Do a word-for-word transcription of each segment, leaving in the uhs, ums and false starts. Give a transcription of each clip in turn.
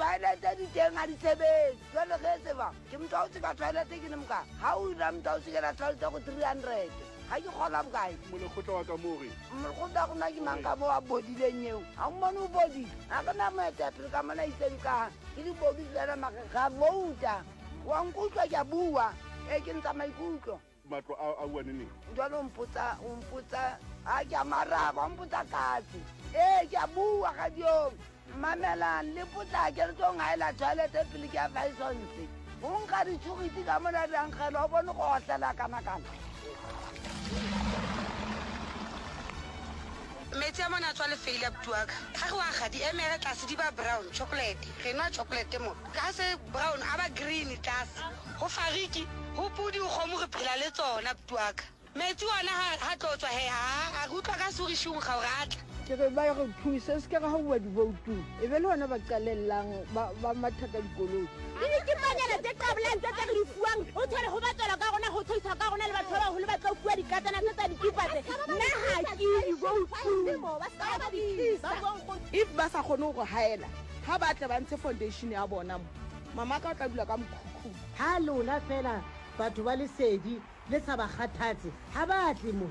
Di-toilet di teng ha di sebetse. Jwale ge tseba ke motho wa o tseka toilet ke ne moka. Ha o ira motho wa o tsekela toilet go three hundred. Ha ke kgola bokae? Molekgotla wa ka moo re. Molekgotla wa rona ke mang ka moo a bodileng eo? Ha o mmone o bodile. Ha re na moetapele ka mona itseng ka ke dibodu fela mare ra vouta. Wa nkutlwa ke a bua. E ke ntsha maikutlo. Matlo a a bua neneng? Jwale o mpotsa o mpotsa ha ke a maraba o mpotsa katse. Ee ke a bua radiong. Mamelang le potlake re tlo ngaela toilet pele ke ya Visons. Ho nka ditshuriti ka mona di ankgela o bone go otlela kana kana. Metsi a mona a tswa lefeile abuti wa ka. Ga re wa ga di emere tlase di ba brown chocolate. Re nwa chocolate mo. Ka se brown a ba green tlase. Ho fariki, ho pudi, ho kgomo re phela le tsona abuti wa ka. Metsi ona ha ha tlo tswa he ha a re utlwa ka surishung ga o ratla. Ke re ba re thuse se ke re ha uwa divoutung e be le hona ba qalellang ba ba matha ka dikoloi. Le dikepanyana tse qabolang tse tse re di fuwang, o thole ho batswela ka rona, ho tshoiswa ka rona le batho ba baholo ba tlo fuwa dikatsana tse tsa dikipa tse. Nna ha ke divoutung. If ba sa kgone ho re haela, ha ba tle ba ntshe foundation ya bona mo. Mama ka o tla dula ka mokhukhung. Ha lona fela batho ba lesedi le sa ba kgathatse, ha ba tle mo.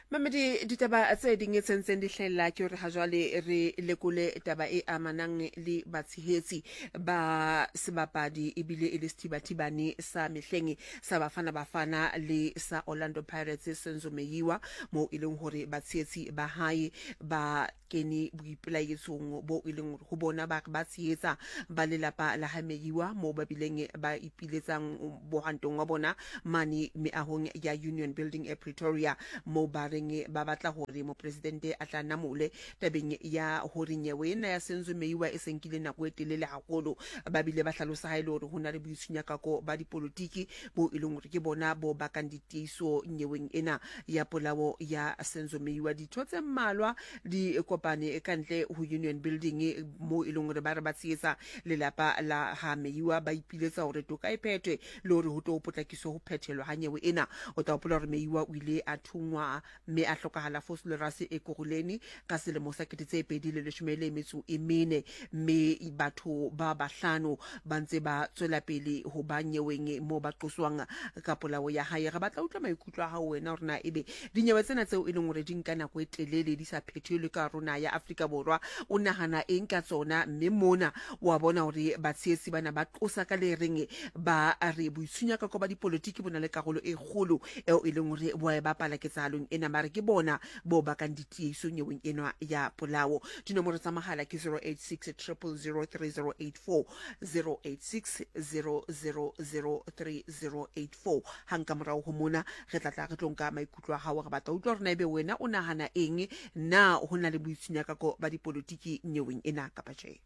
Mamedi ditaba tse ding tse ntseng di hlahella ke hore ha jwale re lekole taba e amanang le batshehetsi ba sebapadi ebile e le sethibathibane sa mehleng sa Bafana Bafana le sa Orlando Pirates Senzo Meyiwa moo e leng hore batshehetsi ba hae ba kene boipelaetsong bo e leng hore ho bona ba re ba tshehetsa ba lelapa la ha Meyiwa moo ba bileng ba ipiletsang bohantong wa bona mane meahong ya Union Building e Pretoria moo ba reng ba batla hore mopresidente a tla namole tabeng ya hore nyewe ena ya Senzo Meyiwa e se nkile nako e telele haholo. Ba bile ba hlalosa ha e le hore ho na le boitshunyakako ba dipolotiki bo e leng hore ke bona bo bakang diteiso nyeweng ena ya polao ya Senzo Meyiwa. Ditho tse mmalwa di kopane ka ntle ho Union Building moo e leng hore ba re ba tshehetsa lelapa la ha Meyiwa, ba ipiletsa hore toka e phethwe le hore ho tlo potlakiswe ho phethelwa ha nyewe ena. O tla hopola hore Meyiwa o ile a thungwa mme a hlokahala Vosloorus Ekurhuleni ka selemo sa kete tse pedi le leshome le metso e mene, mme batho ba bahlano ba ntse ba tswela pele ho ba nyeweng moo ba qoswang ka polao ya hae. Re batla utlwa maikutlo a hao wena hore na ebe dinyewe tsena tseo e leng hore di nka nako e telele di sa phethelwe ka rona ya Afrika Borwa, o nahana eng ka tsona? Mme mona wa bona hore batshehetsi bana ba qosa ka le reng ba re boitshunyakako ba dipolotiki bo na le karolo e kgolo eo e leng hore bo a e bapala ketsahalong ena, ba re ke bona bo bakang ditieso nyeweng ena ya polao. Dinomoro tsa mahala ke zero eight six triple zero three zero eight four, zero eight six zero zero zero three zero eight four. Hang ka morao ho mona re tla tla re tlo nka maikutlo a hao, re batla utlwa hore na ebe wena o nahana eng, na ho na le boitshunyakako ba dipolotiki nyeweng ena kapa tjhe.